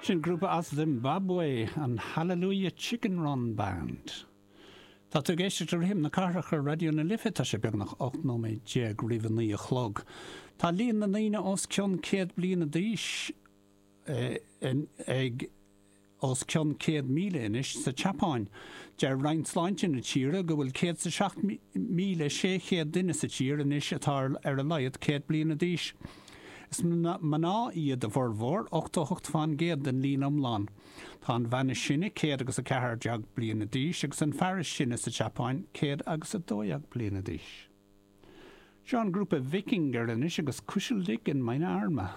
Sin grúpa as Zimbabwe, an Hallelujah Chicken Run Band. Tá tú ag éisteacht le Rithim na Cathrach ar Raidió na Life, tá sé beagnach 18 nóiméad roimh a 9 a chlog. Tá líon na ndaoine os cionn 100 bliana d'aois ag os cionn 100,000 anois sa tSeapáin. Deir Roinn Sláinte na tíre go bhfuil 107,600 duine sa tír anois atá ar a laghad 100 bliana d'aois. Is mná iad a bhformhór, 88 fán gcéad den líon iomlán. Tá an bhean is sine 100 agus 14 bliana d'aois agus an fear is sine sa tSeapáin 100 agus 12 bliana d'aois. Seo an grúpa Víkingur anois agus Kuschel dich in meine Arme.